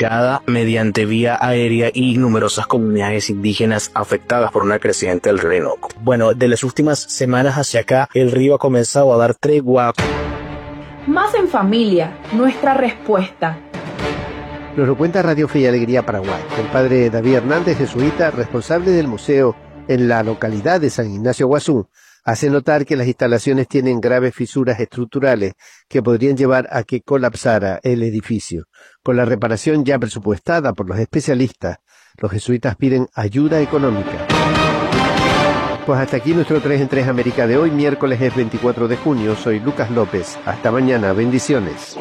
comunicada mediante vía aérea y numerosas comunidades indígenas afectadas por una creciente del río Orinoco. Bueno, de las últimas semanas hacia acá, el río ha comenzado a dar tregua. Más en familia, nuestra respuesta. Nos lo cuenta Radio Fe y Alegría Paraguay. El padre David Hernández, jesuita, responsable del museo en la localidad de San Ignacio Guazú, hace notar que las instalaciones tienen graves fisuras estructurales que podrían llevar a que colapsara el edificio. Con la reparación ya presupuestada por los especialistas, los jesuitas piden ayuda económica. Pues hasta aquí nuestro 3 en 3 América de hoy, miércoles es 24 de junio. Soy Lucas López. Hasta mañana. Bendiciones.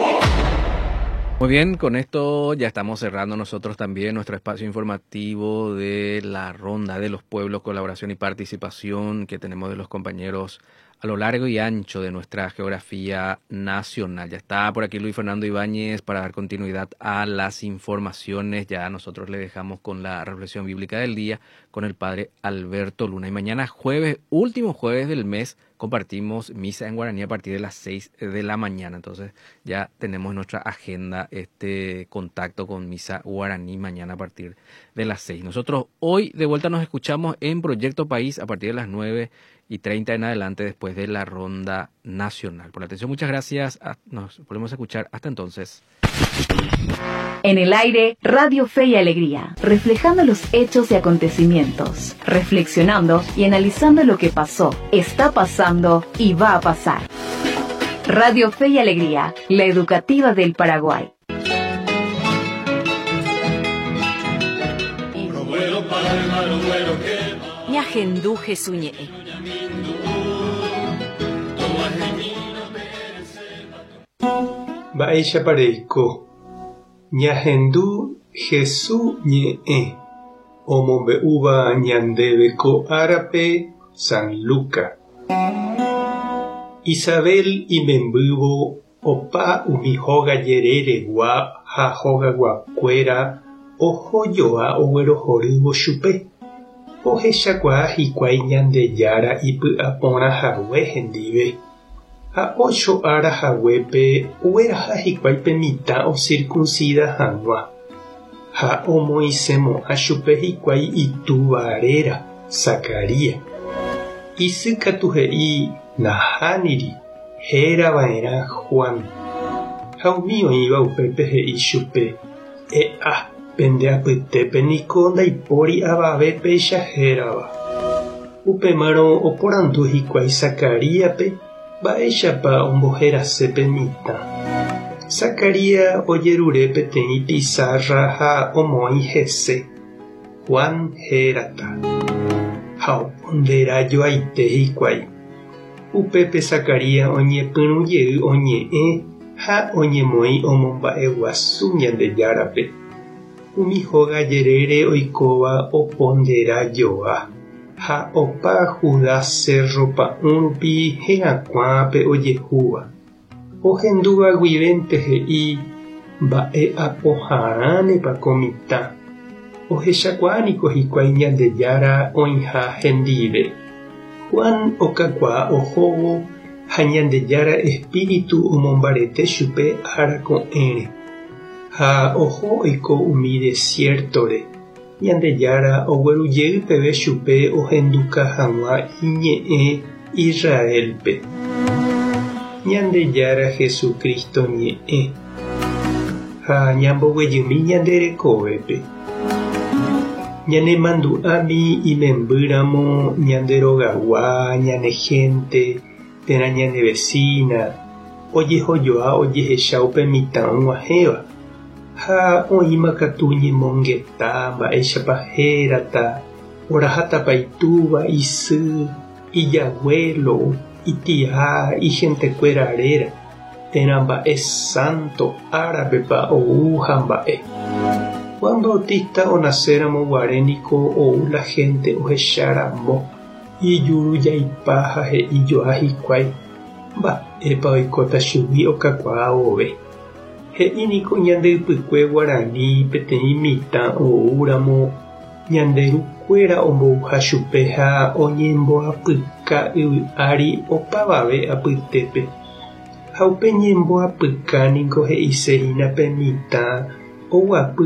Muy bien, con esto ya estamos cerrando nosotros también nuestro espacio informativo de la ronda de los pueblos, colaboración y participación que tenemos de los compañeros a lo largo y ancho de nuestra geografía nacional. Ya está por aquí Luis Fernando Ibáñez para dar continuidad a las informaciones. Ya nosotros le dejamos con la reflexión bíblica del día con el padre Alberto Luna. Y mañana jueves, último jueves del mes, compartimos misa en guaraní a partir de las 6 de la mañana. Entonces ya tenemos en nuestra agenda este contacto con misa guaraní mañana a partir de las 6. Nosotros hoy de vuelta nos escuchamos en Proyecto País a partir de las 9:30 en adelante después de la ronda nacional. Por la atención, muchas gracias. Nos volvemos a escuchar. Hasta entonces. En el aire, Radio Fe y Alegría, reflejando los hechos y acontecimientos, reflexionando y analizando lo que pasó, está pasando y va a pasar. Radio Fe y Alegría, la educativa del Paraguay. Ñahendu Jesús ñe'ẽ. Mba'éichapa reiko? Ñahendu Hesu ñe'ẽ omombe'úva ñandéve ko árape San Luca. Isabel imembývo opa umi hóga jereregua ha hogaguakuéra oho joa oguerohorývo chupe. Ohechakuaa hikuái Ñandejára ipy'aporã hague hendive. Ha ócho ára haguépe ogueraha hikuái pe mitã osirkunsida hag̃ua, ha omoĩsemo'ã chupe hikuái itúva réra, Zacarías. Isy katu he'i, Nahániri, héra va'erã Juan. Ha umi oĩva upépe he'i chupe, E'a, pende apytépe niko ndaipóri avave péicha hérava. Upémarõ oporandu hikuái Zacaríaspe mba'éichapa omboherase pe mitã. Zacarías ojerure peteĩ pisárra ha omoĩ hese, Juan hérata. Ha opondera joaite hikuái. Upépe Zacarías oñepyrũ jey oñe'ẽ ha oñemoĩ omomba'eguasu Ñandejárape. Umi hóga jerére oikóva opondera joa, ha opa Judá sérro pa'ũ rupi herakuã pe ojehúva. Ohendúva guivénte he'i, Mba'e apoharãnepa ko mitã. Ohechakuaa niko hikuái Ñandejára oĩha hendive. Juan okakuaa ohóvo ha Ñandejára espíritu omombarete chupe ára ko'ẽre. Ha oho oiko umi desiértore, Ñandejára ogueru jey peve chupe ohenduka hag̃ua iñe'ẽ Israélpe. Ñandejára Jesucristo ñe'ẽ. Ha ñamboguejymi ñande rekovépe. Ñanemandu'ámi imembýramo ñande rogagua, ñane hénte térã ñane vesína, ojehojoa ojehecha upe mitã og̃uahẽva, ha oĩma katu ñemongeta mba'éichapa hérata, orahátapa itúva, isy, ijaguélo, itia, ihentekuéra réra, térã mba'e sánto árapepa ou ha mba'e. Juan Bautista onaséramo guare niko ou la hénte ohecha ramo. Ijurujaipa ha he'i joa hikuái mba'épa oikóta chugui okakuaa vove. He'i niko ñande ypykue guarani peteĩ mitã oúramo ñande rukuéra ombouha chupe ha oñemboapyka yvy ári opavave apytépe. Ha upe ñemboapyka niko he'ise hína pe mitã oguapy.